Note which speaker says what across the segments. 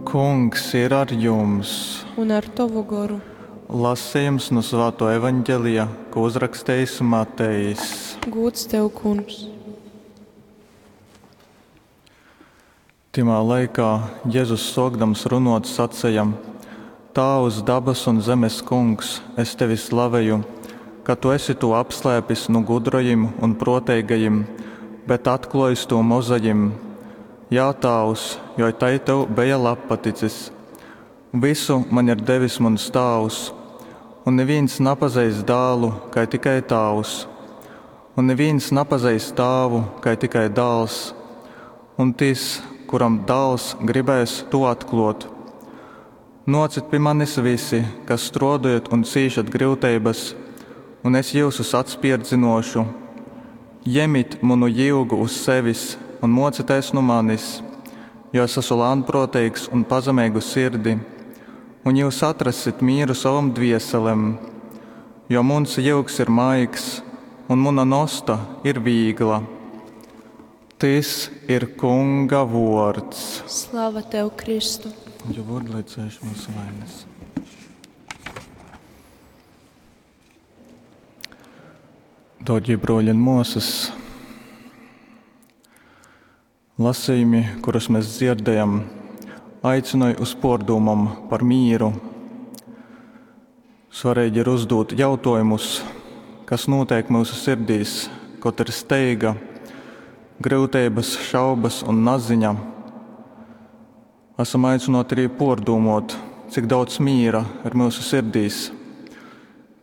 Speaker 1: Kungs ir ar jums!
Speaker 2: Un ar tovu goru.
Speaker 1: Lasījums nu Svāto evaņģelija, ko uzrakstījis Matejs.
Speaker 2: Gūds tev, Kungs!
Speaker 1: Tymā laikā Jezus sōkdams runōt saceja, Tāvs, dabas un zemes Kungs, es tevi slaveju, ka tu esi tū apslēpis nu gudrajim un prōteigajim, bet atklōjis tū mozajim. Jā, Tāvs, jo tai tev beja labpaticis. Vysu maņ ir devis muns Tāvs, un nivīns napazeist Dālu, kai tikai Tāvs, un nivīns napazeist Tāvu, kai tikai Dāls, un tys, kuram Dāls gribēs tū atklōt. Nōcit pi manis vysi, kas strōdojat un cīšat gryuteibas, un es jyusus atspērdzynōšu. Jemit munu jyugu uz sevis un mōcitēs nu manis, jo es asu lānprōteigs un pazemeigu sirdi, un jyus atrassit mīru sovom dvieselem. Jo muns jyugs ir maigs un muna nosta ir vīgla. Tys ir Kunga vuords.
Speaker 2: Slava tev, Kristu!
Speaker 1: Jo vārdu, lai cēš mūsu vainas. Dārgie broļi un māsas, lasījumi, kurus mēs dzirdējam, aicināja uz pārdomām par mīru. Svarīgi ir uzdot jautājumus, kas notiek mūsu sirdīs, kad ir steiga, grūtības, šaubas un naziņa. Esam aicināti arī pārdomot, cik daudz mīra ir mūsu sirdīs.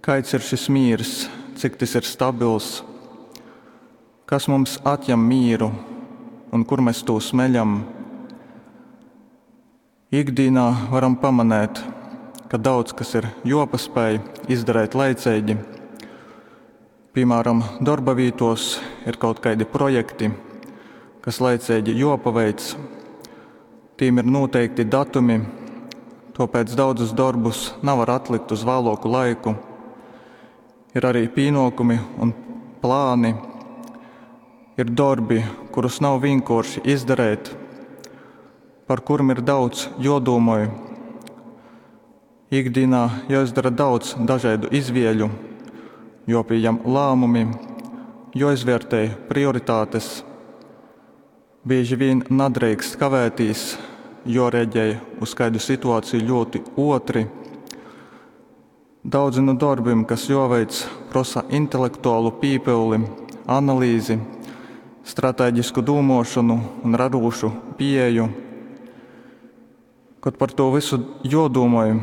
Speaker 1: Kāds ir šis mīrs, cik tas ir stabils, kas mums atņem mīru un kur mēs to smeļam. Ikdienā varam pamanīt, ka daudz kas ir jopaspēj izdarīt laicīgi. Piemēram, darba vītos ir kaut kādi projekti, kas laicīgi jopaveic. Tīm ir noteikti datumi, tāpēc daudzus darbus nevar atlikt uz vēlāku laiku. Ir arī pienākumi un plāni. Ir darbi, kurus nav vienkārši izdarīt, par kuriem ir daudz jodomoj. Ikdienā jāizdara daudz dažādu izvēļu, jopieņem lēmumi, joizvērtē prioritātes. Bieži vien nedrīkst kavēties, jo reaģē uz kādu situāciju ļoti otri. Daudzi no darbiem, kas joveic, prasa intelektuālu pīpildi, analīzi, stratēģisku dūmošanu un radošu pieeju. Kad par to visu jodomāju,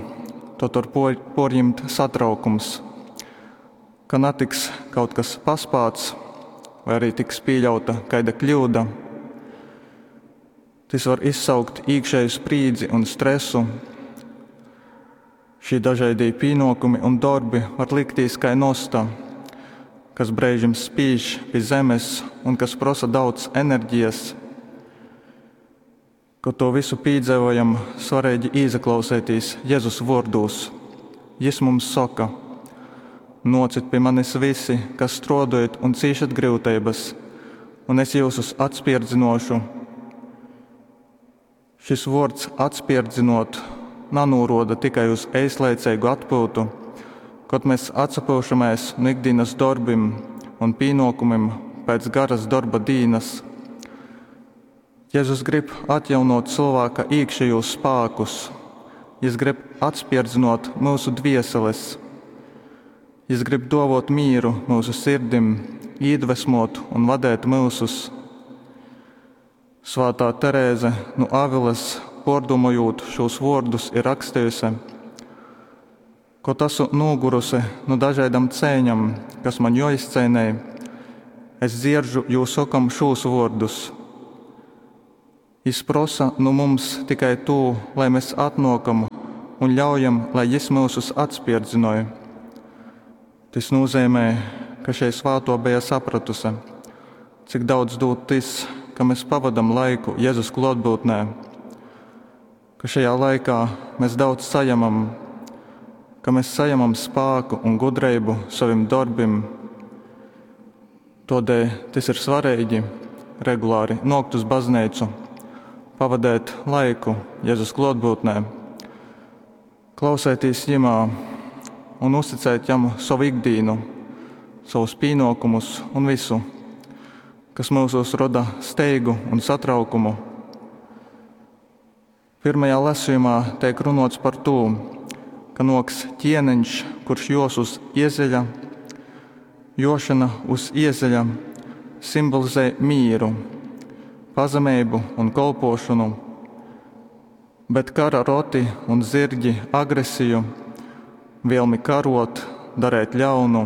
Speaker 1: tad var porņemt satraukums, ka netiks kaut kas paspāts vai arī tiks pieļauta kāda kļūda. Tas var izsaukt iekšēju sprīdzi un stresu. Šī dažādie pienākumi un darbi var likties kā nosta, kas brīžiem spīž pie zemes un kas prasa daudz enerģijas. Kad to visu piedzīvojam, svarīgi ieklausīties Jēzus vārdos. Jis mums saka: Nocit pie manis visi, kas strādājat un cīšat grūtības, un es jūsus atspierdzinošu. Šis vārds atspierdzinot nanūroda tikai uz eislaicīgu atpūtu, kad mēs atsapūšamies no ikdienas darbiem un pienākumiem pēc garas darba dīnas. Jēzus grib atjaunot cilvēka iekšējos spēkus, Jis grib atspierdzinot mūsu dvieseles, Jis grib dovot mīru mūsu sirdim, iedvesmot un vadēt mūsus. Svētā Terēze no Avilas, pārdomājot šos vārdus, ir rakstījusi: Kaut esmu nogurusi no dažādam cēņam, kas man joizcēnēja, es dzieržu jūs sakam šos vārdus. Jis prosa nu mums tikai to, lai mēs atnokam un ļaujam, lai jis mūsus atspierdzinoja. Tas nozīmē, ka šeit svāto bija sapratusi, cik daudz dod tas, ka mēs pavadam laiku Jēzus klātbūtnē, ka šajā laikā mēs daudz saņemam, ka mēs saņemam spēku un gudrību saviem darbiem. Tādēļ tas ir svarīgi regulāri nokt uz baznīcu, pavadēt laiku Jezus klōtbyutnē, klausētīs Jymā un uzticēt Jam sovu ikdīnu, sovus pīnōkumus un visu, kas myusos roda steigu un satraukumu. Pirmajā lasījumā teik runots par tū, ka nōks ķieniņš, kurš jos uz iezeļa. Jošana uz iezeļa simbolizē mīru, pazemeibu un kolpošanu, bet kara roti un zirgi agresiju, vēlmi karot, darēt ļaunu.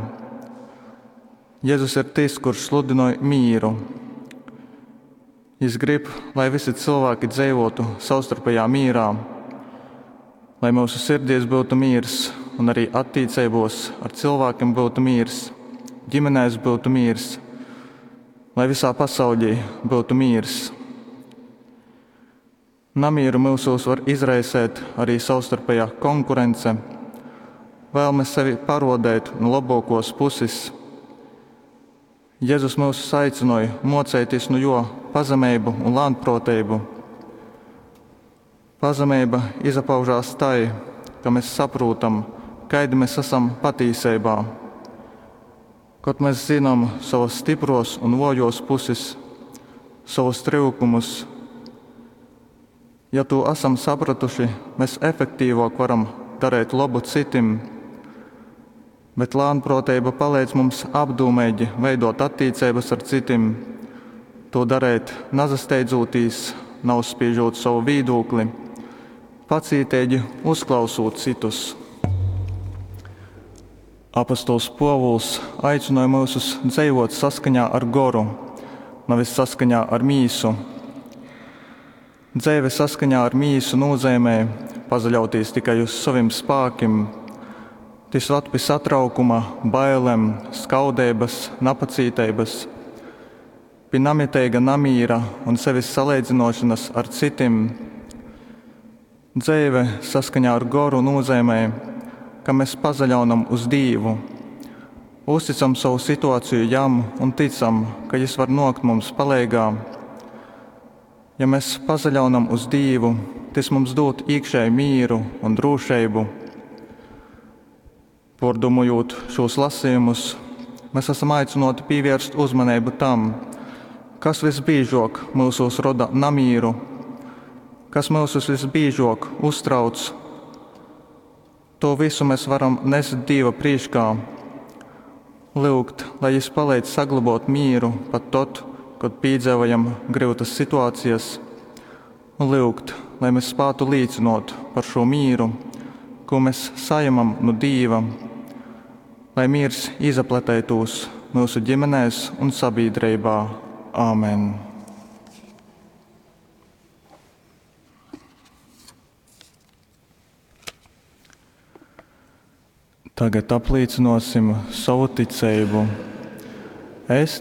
Speaker 1: Jēzus ir tas, kurš sludinoj mīru. Jis grib, lai visi cilvēki dzīvotu savstarpējā mīrā, lai mūsu sirdīs būtu miers un arī attiecībos ar cilvēkiem būtu miers, ģimenēs būtu miers, lai visā pasaulī būtu miers. Namieru mūsos var izraisēt arī savstarpējā konkurence, vēlme sevi parodēt no labākos puses. Jēzus mūs aicināja mocēties no jo pazemību un lēnprātību. Pazemība izpaužās tai, ka mēs saprotam, kaidi mēs esam patīsībā. Kad mēs zinām savas stipros un vājos puses, savus trūkumus, ja to esam sapratuši, mēs efektīvāk varam darīt labu citim. Bet lēnprātība palīdz mums apdomīgi veidot attiecības ar citiem, to darīt nazasteidzoties, neuzspiežot savu viedokli, pacītīgi uzklausot citus. Apostols Pōvuls aicināja mūsus dzīvot saskaņā ar goru, nevis saskaņā ar mīsu. Dzīve saskaņā ar mīsu nozīmē pazaļauties tikai uz saviem spēkiem. Tas vad pie satraukuma, bailēm, skaudības, napacītības, pie namitīga namīra un sevis salīdzinošanas ar citiem. Dzīve saskaņā ar goru nozīmē, ka mēs pazaļaunam uz Dievu, uzticam savu situāciju jam un ticam, ka Jis var nokt mums palīgā. Ja mēs pazaļaunam uz Dievu, tas mums dod iekšēju mīru un drošību. Pordomojot šos lasījumus, mēs esam aicināti pievērst uzmanību tam, kas visbiežāk mūsos roda namīru, kas mūsus visbiežāk uztrauc. To visu mēs varam nest Dieva priekšā, lūgt, lai Jis palīdz saglabāt mieru pat tad, kad piedzīvojam grūtas situācijas, un lūgt, lai mēs spētu līdzinot par šo mieru, ko mēs saņemam no Dieva, lai miers izapletētos mūsu ģimenēs un sabiedrībā. Āmen! Tagad apliecināsim savu ticību. Es